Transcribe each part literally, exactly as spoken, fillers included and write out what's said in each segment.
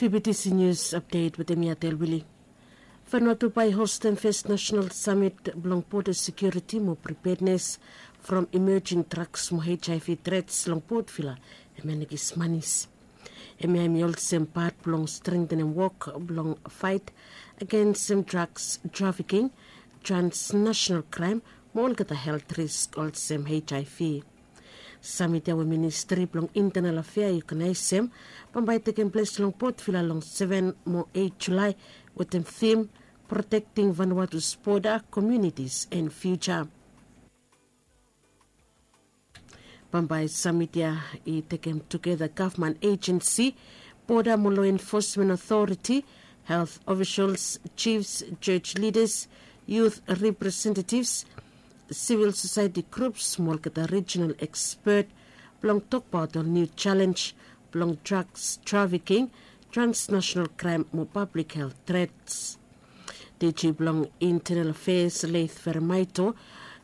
P B T C News Update wetem mi Atel Willie. Vanuatu bae i hostem fes nasional samit blong boda sekiuriti mo pripednes from emerjing draks mo HIV trets long Port Vila hemia na Kismanis. Hemia hem i olsem pat blong strengtenem wok blong faet agensem draks trafiking, transnasional kraem mo olgeta helt risk olsem HIV. Samit ya we ministri blong intenal afea i oganaesem bambae i tekem ples long Port Vila long seven mo eight Julae wetem thim Protecting Vanuatu's Border, Communities and Future. Bambae samit ya i tekem tugeta gavman ejensi, boda mo law enfosmen otoriti, helt ofisels, jifs, joj lidas, yut representetivs, sivil sosaeti grups mo olgeta rijinal ekspet blong tokbaot ol niu jalenj blong draks trafiking, transnasional kraem mo pablik helt trets. Diji blong intenal afeas Leith Feremaito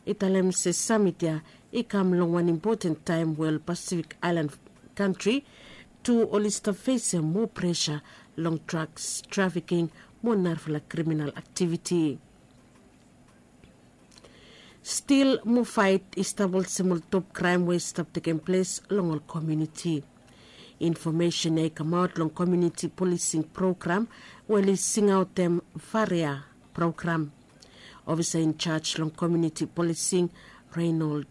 i talem se samit ya i kam long wan impoten taem we ol Pasifik aelan kantri tu oli stap fesem moa presa long draks trafiking mo narafala kriminal aktiviti. Stil mo faet i stap olsem ol top kraem we i stap tekem ples long ol komuniti. Infomesen ya i kamaot long komuniti polising program we oli singaotem Varia program. Ofisa injaj long komuniti polising Reynold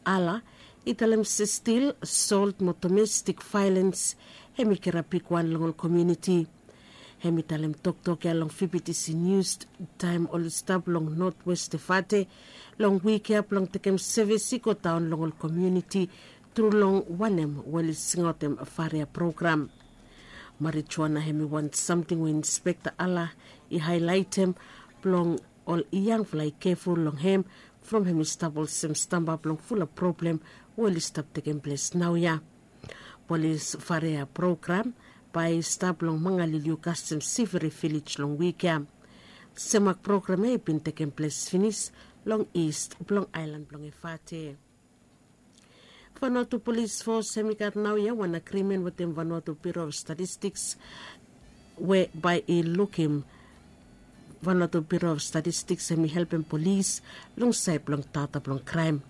Ala i talem se stil, solt mo domestik vaelens hem i kirap bigwan long ol komuniti. Hem i talem toktok ya long V B T C News taem oli stap long Notwest Efate long wik ya blong tekem sevis i godaon long ol komuniti tru long wanem we oli singaotem Varia program. Marijuana hem i wan samting we Inspekta Ala i haelaetem blong ol yangfala i keful long hem from hem i stap olsem stamba blong fulap problem we oli stap tekem ples naoia. Polis Varia program bae i stap long Mangaliliu kasem Siviri vilej long wik ya. Semak program ya i bin tekem ples finis long ist blong aelan blong Efate. Vanuatu Polis Fos hem i gat naoia wan agrimen wetem Vanuatu Biro of Statistiks we bae i lukim Vanuatu Biro of Statistiks hem i helpem polis long saed blong data blong kraem.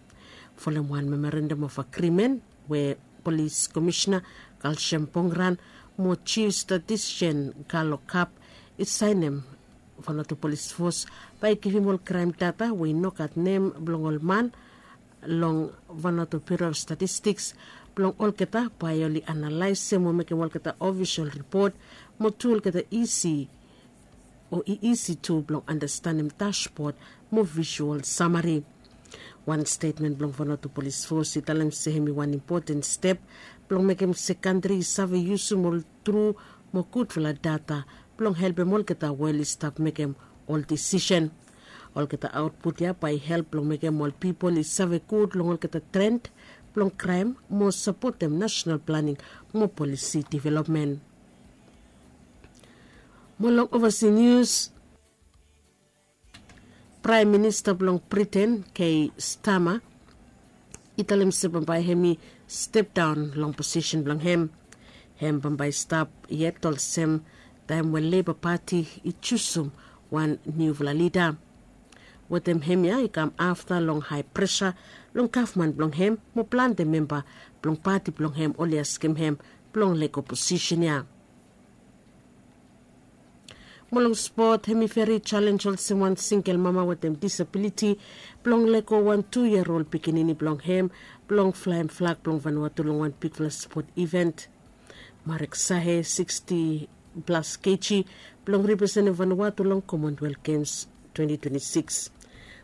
Folem wan memorandam of agrimen we polis komisena Kalsem Pongran mo jif statistisen Galo Kap i saenem, Vanuatu Polis Fos bae i givim ol kraem data we i no gat nem blong ol man long Vanuatu Biro of Statistiks blong olgeta bae oli analaesem o mekem olgeta ofisol ripot mo tu olgeta isi o i isi tu blong andastanem dasbod mo visual samari. Wan stetmen blong Vanuatu Polis Fos i talem se hem i wan impoten step blong mekem se kantri i save yusum ol tru mo gudfala data blong helpem olgeta we oli stap mekem ol disisen. Olgeta aotput ya bae i help blong mekem ol pipol i save gud long olgeta tren blong kraem mo sapotem nasenal planing mo polisi developmen. Mo long ovasi nius, Praem Minista blong Briten, Keir Starmer, i talem se bambae hem i step daon long posisen blong hem. Hem bambae i stap yet olsem taem we Leba Pati i jusum wan niufala lida. Wetem hemia i kam afta long hae presa long gavman blong hem mo plante memba blong pati blong hem oli askem hem blong lego posisen ya. Mo long spot, hem i veri jalenj olsem wan singel mama wetem disabiliti blong lego wan tu yia ol pikinini blong hem blong flaem flag blong Vanuatu long wan bigfala spot iven. Marek Sahe, siksti plas keji, blong representem Vanuatu long Commonwealth Games twenti twenti sikis.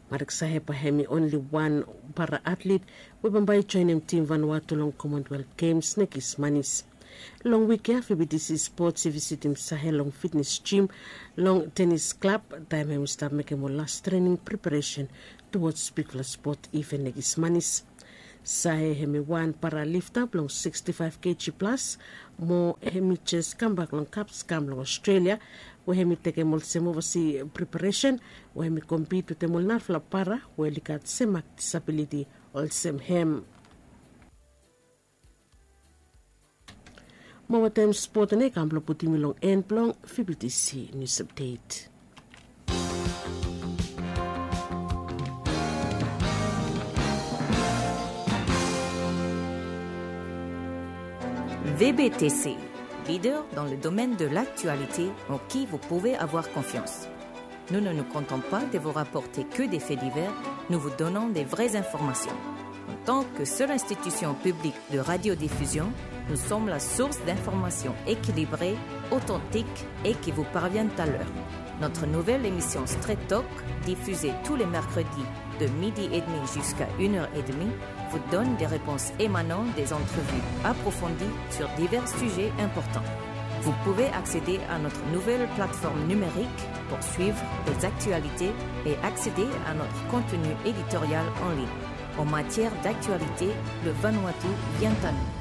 Marek Sahe bae hem i onli wan para atlet we bambae i joenem tim Vanuatu long Commonwealth Games na Kismanis. Long wik ya, V B T C Sports i visitim Sahe long fitnes jim long tenis klab taem hem i stap mekem ol las trening preparesen tuwods bigfala spot iven na Kismanis. Sae hem i wan paralifta blong siksti faef keji plas mo hem i jes kambak long Kapskam long Australia we hem i tekem olsem ovasi preparesen we hem i kompit wetem ol narafala para we oli gat semak disabiliti olsem hem. Mo wantaem spot nao i kam blong putum yu long en blong V B T C News Update. V B T C, leader dans le domaine de l'actualité en qui vous pouvez avoir confiance. Nous ne nous contentons pas de vous rapporter que des faits divers, nous vous donnons des vraies informations. En tant que seule institution publique de radiodiffusion, nous sommes la source d'informations équilibrées, authentiques et qui vous parviennent à l'heure. Notre nouvelle émission Straight Talk, diffusée tous les mercredis de midi et demi jusqu'à une heure et demie, vous donne des réponses émanant des entrevues approfondies sur divers sujets importants. Vous pouvez accéder à notre nouvelle plateforme numérique pour suivre les actualités et accéder à notre contenu éditorial en ligne. En matière d'actualité, le Vanuatu vient à nous.